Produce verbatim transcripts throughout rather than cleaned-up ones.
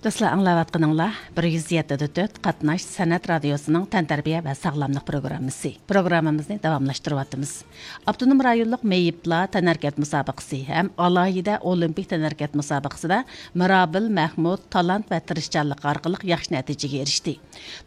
دوستلار، ئاڭلاۋاتقىنىڭلار بىر يۈز يەتتە دە تۆت قاتناش سەنئەت رادىيوسىنىڭ تەنتەربىيە ۋە ساغلاملىق پروگراممىسى. پروگراممىمىزنى داۋاملاشتۇرۇۋاتىمىز. ئاپتونوم رايونلۇق مېيىپلار تەنھەرىكەت مۇسابىقىسى ھەم ئالاھىدە ئولىمپىك تەنھەرىكەت مۇسابىقىسىدە مىرابىل مەھمۇد تالانت ۋە تىرىشچانلىقى ئارقىلىق ياخشى نەتىجىگە ئېرىشتى.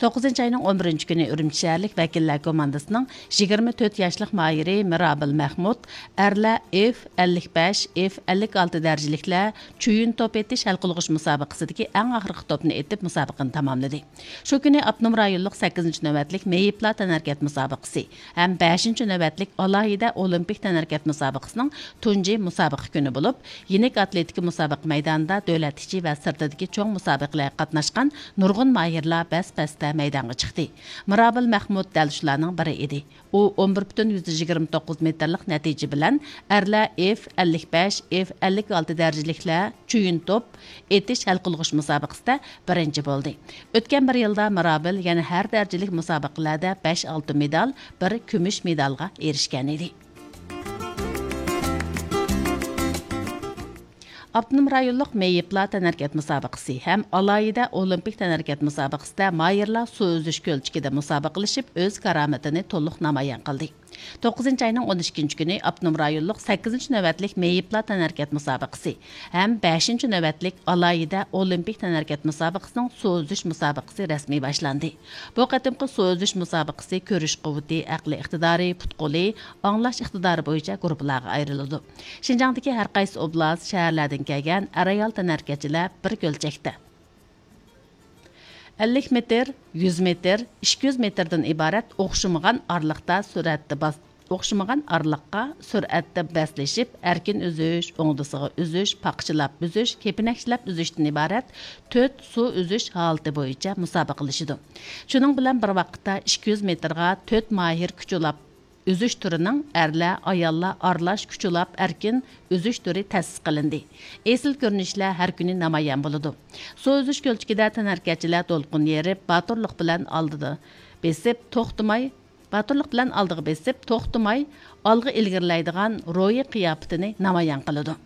توققۇزىنچى ئاينىڭ ئون بىرىنچى كۈنى ئۈرۈمچى شەھەرلىك ۋەكىللەر كوماندىسىنىڭ يىگىرمە تۆت ياشلىق ماھىرى مىرابىل مەھمۇد ئەرلەر ئېف ئەللىك بەش، ئېف ئەللىك ئالتە دەرىجىلىكلەر چويۇن توپ ئېتىش ھەل قىلغۇچ مۇسابىقىسىدىكى ئەڭ ئاخىرقى توپنى ئېتىپ، مۇسابىقىنى تاماملىدى. شۇ كۈنى ئاپتونوم رايونلۇق سەككىزىنچى نۆۋەتلىك مېيىپلار تەنھەرىكەت مۇسابىقىسى ھەم بەشىنچى نۆۋەتلىك ئالاھىدە ئولىمپىك تەنھەرىكەت مۇسابىقىسىنىڭ تۇنجى مۇسابىقە كۈنى بولۇپ، يېنىك ئاتلېتىكا مۇسابىقە مەيدانىدا دۆلەت ئىچى ۋە سىرتىدىكى چوڭ مۇسابىقىلەرگە قاتناشقان نۇرغۇن ماھىرلار بەس-بەستە مەيدانغا چىقتى. مىرابىل مەھمۇد دەل شۇلارنىڭ بىرى ئىدى. ئۇ ئون بىر پۈتۈن يۈزدىن يىگىرمە توققۇز مېتىرلىق نەتىجە بىلەن ئەرلەر ئېف ئەللىك بەش، ئېف ئەللىك ئالتە دەرىجىلىكلەر چويۇن توپ ئېتىش ھەل قىلغۇچ مۇسابىقىسىدە بىرىنچى بولدى. ئۆتكەن بىر يىلدا مىرابىل يەنە ھەر دەرىجىلىك مۇسابىقىلەردە بەش ئالتۇن مېدال، بىر كۈمۈش مېدالغا ئېرىشكەن ئىدى. ئاپتونوم رايونلۇق مېيىپلار تەنھەرىكەت مۇسابىقىسى ھەم ئالاھىدە ئولىمپىك تەنھەرىكەت مۇسابىقىسىدە ماھىرلار سۇ ئۈزۈش كۆلچىكىدە مۇسابىقىلىشىپ، ئۆز كارامىتىنى تولۇق نامايان قىلدى. توققۇزىنچى ئاينىڭ ئون ئىككىنچى كۈنى ئاپتونوم رايونلۇق سەككىزىنچى نۆۋەتلىك مېيىپلار تەنھەرىكەت مۇسابىقىسى ھەم بەشىنچى نۆۋەتلىك ئالاھىدە ئولىمپىك تەنھەرىكەت مۇسابىقىسىنىڭ سۇ ئۈزۈش مۇسابىقىسى رەسمىي باشلاندى. بۇ قېتىمقى سۇ ئۈزۈش مۇسابىقىسى كۆرۈش قۇۋۋىتى، ئەقلىي ئىقتىدارى، پۇت قولى، ئاڭلاش ئىقتىدارى بويىچە گۇرۇپپىلارغا ئايرىلىدۇ. شىنجاڭدىكى ھەر قايسى ئوبلاست، شەھەرلەردىن كەلگەن ئەر-ئايال تەنھەرىكەتچىلەر بىر كۆلچەكتە. ئەللىك مېتىر، يۈز مېتىر، ئىككى يۈز مېتىردىن ئىبارەت ئوخشىمىغان ئارىلىقتا سۈرئەتتە باس-، ئوخشىمىغان ئارىلىققا سۈرئەتتە بەسلىشىپ، ئەركىن ئۈزۈش، ئوڭدىسىغا ئۈزۈش، پاقچىلاپ ئۈزۈش، كېپىنەكچىلەپ ئۈزۈشتىن ئىبارەت تۆت سۇ ئۈزۈش ھالىتى بويىچە مۇسابىقىلىشىدۇ. شۇنىڭ بىلەن بىر ۋاقىتتا، ئىككى يۈز مېتىرغا تۆت ماھىر كۈچ ئۇلاپ ئۈزۈش تۈرىنىڭ ئەرلەر، ئاياللار ئارىلاش كۈچ ئۇلاپ ئەركىن ئۈزۈش تۈرى تەسىس قىلىندى. ئېسىل كۆرۈنۈشلەر ھەر كۈنى نامايان بولىدۇ. سۇ ئۈزۈش كۆلچىكىدە تەنھەرىكەتچىلەر دولقۇن يېرىپ، باتۇرلۇق بىلەن ئالدىدا بېسىپ، توختىماي، باتۇرلۇق بىلەن ئالدىغا بېسىپ، توختىماي ئالغا ئىلگىرىلەيدىغان روھىي قىياپىتىنى نامايان قىلىدۇ.